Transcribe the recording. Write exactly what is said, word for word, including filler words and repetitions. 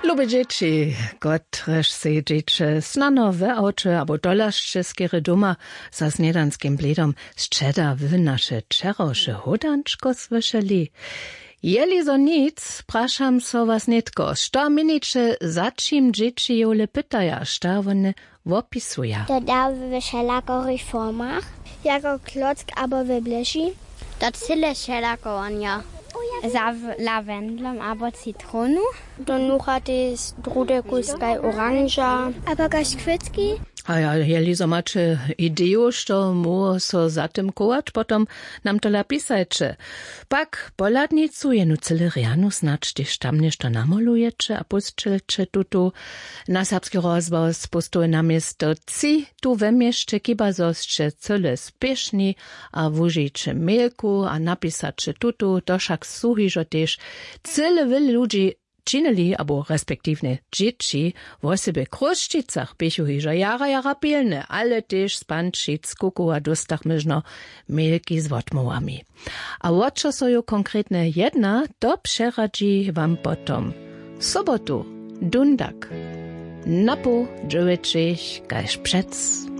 Lube dźěći, kotrež sedźeće snano w awće abo tola sće skerje doma za snědanskim blědom, sće da wy naše wčerawše hódančko słyšeli? Jeli zo nic, prašam so was nětko, što měniće, za čim dźěći jowle pytaja, šta wone wopisuja? To da we wšelakich formach, jako klock abo we bléži. To cyle wšelako wonja, za w- lawendlom abo citronu. To nucha tež drude kuskaj oranža abo kaž kwětki. A ja, jeli zo maće ideju, što móhło so za tym chować, potom nam to napisajće. Pak pohladnicu, jenu cyle rjanu, snadź tež tam něšto namolujeće a pósćelće tutu na serbski rozhłos pustowe na město tři tu we měsće, chiba zo sće cyle spěšni a wužiće mailku a napisaće tutu. To wšak su hižo tež cyle wjele ludźi činili abo respektiwnje dźěći. Wosebje w Chrósćicach běchu hižo jara jara pilne, ale tež z Pančic, Kukowa dóstachmy žno mailki z wotmołwami. A wo čo so jo konkretnje jedna, to přeradźi wam potom w sobotu, dundak, na poł dźewjećich kaž přec.